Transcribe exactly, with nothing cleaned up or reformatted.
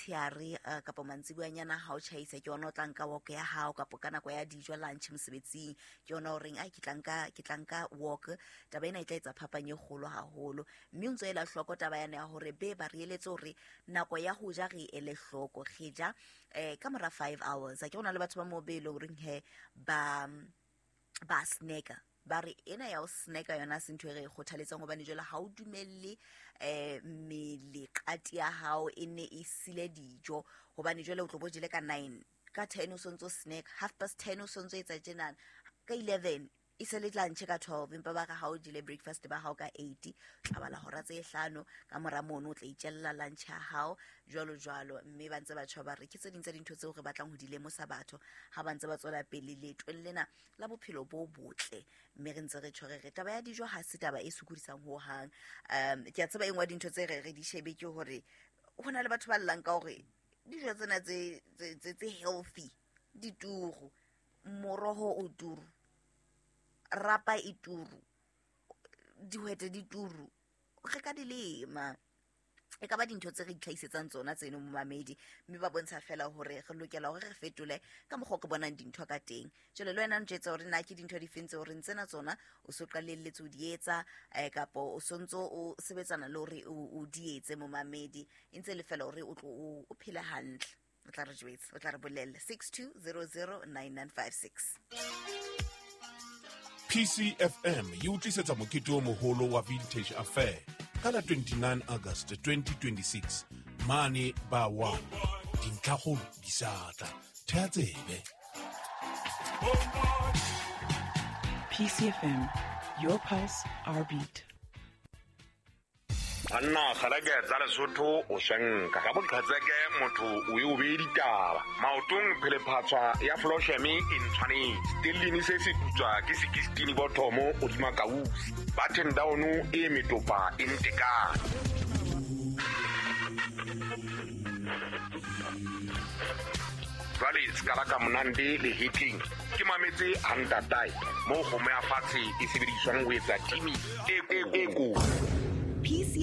Motshehare uh, kapa mantsibuanyana ha o tjhaisa ke yona o tla nka walk ya hao, kapa ka nako ya dijo lunch mosebetsing ke yona o reng ai ke tla nka ke tla nka walk. Taba ena e tla etsa phapang e kgolo haholo, mme o ntso ela hloko taba yana ya hore be ba re eletse hore nako ya ho ja re ele hloko, re ja eh ka mora five hours. A ke hona le batho ba mo be le horeng he ba ba snacka, ba re ena ya ho snacka yona se ntho e re e kgothaletsang, hobane jwale ha o dumelle eh mmele qati ya hao e ne e sile dijo, hobane jwale o tlo bo jele ka nine, ka ten o sontso snack, half past ten o sontso etsa tjenana, ka eleven e se le lunch ka twelve, empa ba re ha o jele breakfast ba hao ka eight, tla bala hora tse hlano ka mora mono o tla itjella lunch ya hao jwalo jwalo. Mme ba ntse ba tjho ba re ke tse ding tsa dintho tseo re batlang ho di lemosa batho ha ba ntse ba tswela pele leetong lena la bophelo bo botle. Mme re ntse re tjho re re taba ya dijo ha se taba e sokodisang ho hang. Um ke a tseba e nngwe ya dintho tse re re di shebe ke hore ho na le batho ba llang ka hore dijo tsena tse tse tse healthy di turu, moroho o turu, rapa e turu, dihwete di turu, re ka di lema. E ka ba dintho tse re itlhahisetsang tsona tseno momamedi, mme ba bontsha fela hore re lokela hore re fetole ka mokgwa o re bonang dintho ka teng. Jwale le wena o ntjwetsa hore na ke dintho difeng tseo re ntsena tsona o so qalelletse ho di etsa, eh, kapa o sontso o sebetsana le hore o di etse momamedi, e ntse le fela hore o tlo o phele hantle. O tla re jwetsa, o tla re bolella six two zero zero nine nine five six. P C F M e utlwisetsa mokete o moholo wa Vintage Affair ka la twenty-nine August twenty twenty-six mane ba one. Dintlhakgolo di sa tla. Thea tsebe. P C F M, your pulse, our beat. Banna kgaleke tsa Lesotho o shenka ka boqhetseke motho o e o bee ditaba. Maotong phelephatswa ya Flosheme e ntshwanetse. Stellini se se putswa ke sixteen bothomo hodima kausi. Button down e metopa e ntekane. Jwale se ka ba ka monande le hitting. Ke mametse a ntatae mo kgomo ya fatshe e sebediswang ho etsa timi e ko. P C